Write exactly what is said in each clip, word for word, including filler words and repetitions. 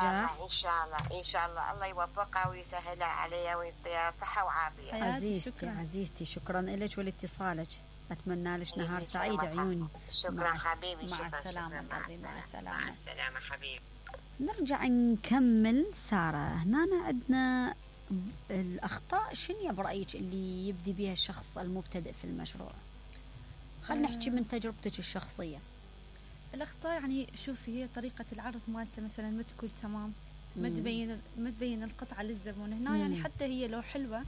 نجاح. ان شاء الله ان شاء الله الله يوفقها ويسهلها عليها ويعطيها صحه وعافيه. عزيزتي شكرا. عزيزتي شكرا لك ولاتصالك، اتمنى لك نهار سعيد عيوني. شكرا مع حبيبي. مع شكرا السلامه شكرا. قلبي، مع السلامه. مع السلامه حبيبي. نرجع نكمل ساره. هنا عندنا الاخطاء شنو برايك اللي يبدي بها الشخص المبتدئ في المشروع؟ خلينا نحكي من تجربتك الشخصيه. الأخطاء يعني شوفي هي طريقة العرض مالته مثلا ما تكون تمام، ما مم. تبين ما تبين القطعة للزبون هنا. مم. يعني حتى هي لو حلوة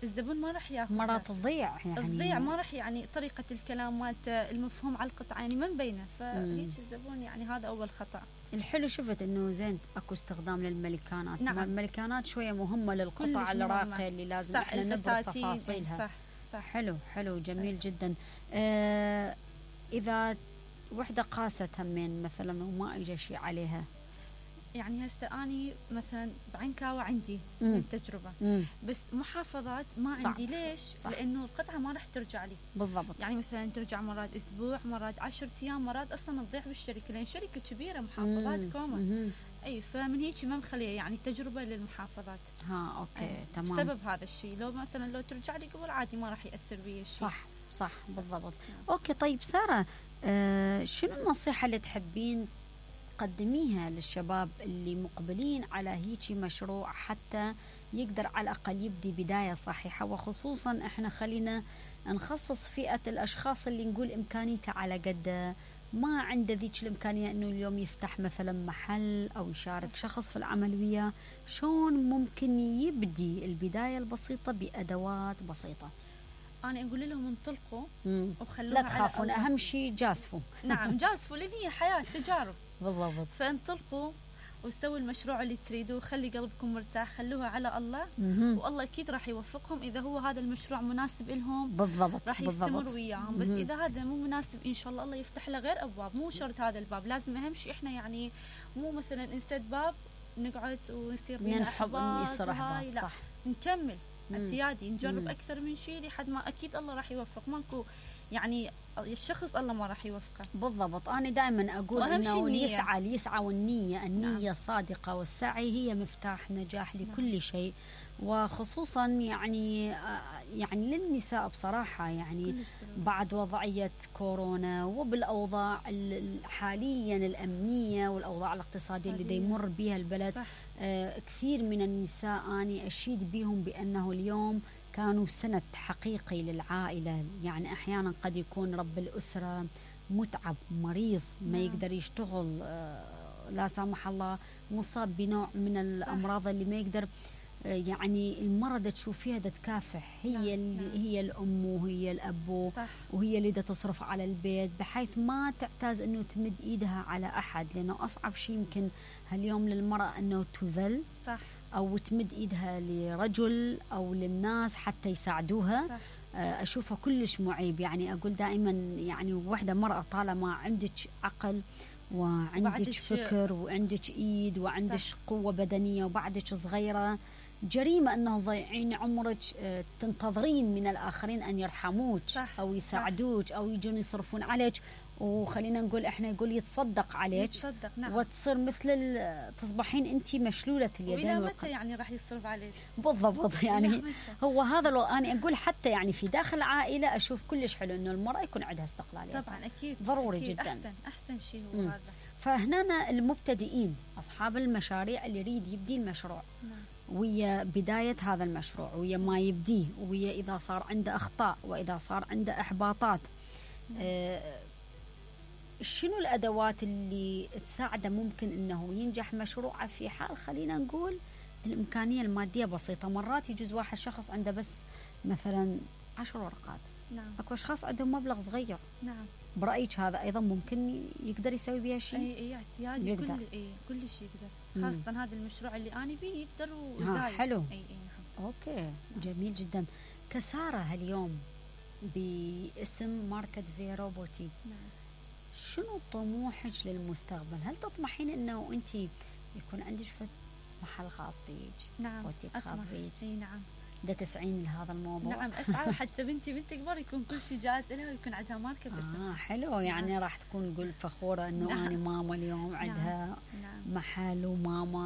الزبون ما راح ياخذها، مرات تضيع يعني تضيع ما راح يعني طريقة الكلام مالته المفهوم على القطعة يعني ما مبينة، فهيك الزبون يعني هذا أول خطأ. الحلو شفت انه زين اكو استخدام للملكانات. نعم. الملكانات شويه مهمه للقطع الراقيه اللي لازم صح احنا نبرز تفاصيلها. صح صح. حلو حلو جميل صح. جدا. آه اذا وحده قاست همين مثلا وما اجى شيء عليها، يعني هسه اني مثلا بعنكاوة عندي مم. من التجربة، مم. بس محافظات ما صح. عندي. ليش؟ صح. لانه القطعة ما راح ترجع لي بالضبط. يعني مثلا ترجع مرات اسبوع، مرات عشرة ايام، مرات اصلا تضيع بالشركة لان شركة كبيرة محافظات مم. كوما. مم. اي فمن هيك ما مخليه يعني تجربة للمحافظات. ها اوكي أي. تمام. بسبب هذا الشيء لو مثلا لو ترجع لي قبل عادي ما راح ياثر بي الشيء. صح صح بالضبط. نعم. اوكي طيب ساره، آه شنو النصيحه اللي تحبين تقدميها للشباب اللي مقبلين على هيجي مشروع حتى يقدر على الأقل يبدي بداية صحيحة، وخصوصا احنا خلينا نخصص فئة الأشخاص اللي نقول إمكانيته على قد ما عنده ذيك الإمكانية أنه اليوم يفتح مثلا محل أو يشارك شخص في العمل وياه، شلون ممكن يبدي البداية البسيطة بأدوات بسيطة؟ انا اقول لهم انطلقوا مم. وخلوها لا تخافون، على أهم شيء جازفوا. نعم جازفوا لان هي حياة تجارب. بالضبط. فانطلقوا واستووا المشروع اللي تريدوه، خلي قلبكم مرتاح، خلوها على الله. مم. والله اكيد راح يوفقهم اذا هو هذا المشروع مناسب لهم. بالضبط راح بالضبط. يستمر وياهم. بس مم. اذا هذا مو مناسب ان شاء الله الله يفتح له غير ابواب، مو شرط هذا الباب. لازم اهم شيء احنا يعني مو مثلا نسد باب نقعد ونصير بينا ننحب احباط يصير وهاي، احباط. لا صح. نكمل مم. اعتيادي، نجرب مم. اكثر من شيء لحد ما اكيد الله راح يوفق. ماكو يعني الشخص الله ما راح يوفقه. بالضبط. أنا دائما أقول وأهم شيء إنه النية. يسعى يسعى والنية النية نعم. الصادقة والسعي هي مفتاح نجاح لكل شيء، وخصوصا يعني يعني للنساء بصراحة يعني كلش ضروري. بعد وضعية كورونا وبالأوضاع ال- حاليا الأمنية والأوضاع الاقتصادية اللي حالياً. يمر بها البلد. صح. آه كثير من النساء أنا أشيد بهم بأنه اليوم كانوا سند حقيقي للعائلة. يعني أحيانا قد يكون رب الأسرة متعب مريض ما نعم. يقدر يشتغل، آه لا سامح الله مصاب بنوع من الأمراض اللي ما يقدر، آه يعني المرض تشوفيها دا تكافح هي نعم. اللي نعم. هي الأم وهي الأب صح. وهي اللي دا تصرف على البيت، بحيث ما تعتاز أنه تمد إيدها على أحد، لأنه أصعب شيء يمكن هاليوم للمرأة أنه تذل صح. أو تمد إيدها لرجل أو للناس حتى يساعدوها. صح. أشوفها كلش معيب. يعني أقول دائما يعني وحدة مرأة طالما عندك عقل وعندك وبعدك فكر وعندك إيد وعندك صح. قوة بدنية وبعدك صغيرة، جريمة أنه تضيعين عمرك تنتظرين من الآخرين أن يرحموك صح. أو يساعدوك أو يجون يصرفون عليك، وخلينا نقول إحنا يقول يتصدق عليك. يتصدق. نعم. وتصير مثل ال- تصبحين أنت مشلولة اليدين وإلى والقدم. متى يعني راح يصرف عليك؟ بالضبط. يعني إلى متى؟ هو هذا لو أنا أقول حتى يعني في داخل العائلة أشوف كلش حلو إنه المرأة يكون عندها استقلالية. طبعا أكيد ضروري أكيد. جدا. أحسن أحسن شيء هو مم. هذا. فهنا المبتدئين أصحاب المشاريع اللي يريد يبدي المشروع نعم. ويا بداية هذا المشروع ويا ما يبديه ويا إذا صار عنده أخطاء وإذا صار عنده إحباطات، آه شنو الأدوات اللي تساعده ممكن أنه ينجح مشروعه في حال خلينا نقول الإمكانية المادية بسيطة؟ مرات يجوز واحد شخص عنده بس مثلا عشر ورقات، نعم. أكو أشخاص عندهم مبلغ صغير، نعم. برأيك هذا أيضا ممكن يقدر يسوي بها شيء؟ اي اي اعتيادي يقدر. كل اي كل شيء يقدر، مم. خاصة هذا المشروع اللي أنا بيه يقدر ها وزايد. حلو. اي اي نعم. أوكي جميل جدا. كسارة هاليوم باسم ماركت فيرو بوتيك، نعم. شنو طموحك للمستقبل؟ هل تطمحين انه انت يكون عندك محل خاص بيك؟ نعم. بوتيك خاص أطمح. بيك؟ اي نعم. دا تسعين لهذا الموضوع. نعم اسعى حتى بنتي من تكبر يكون كل شيء جاهز لها ويكون عندها ماركه باسمها. اه حلو، يعني نعم. راح تكون قول فخوره انه نعم. انا ماما اليوم عندها نعم. محل وماما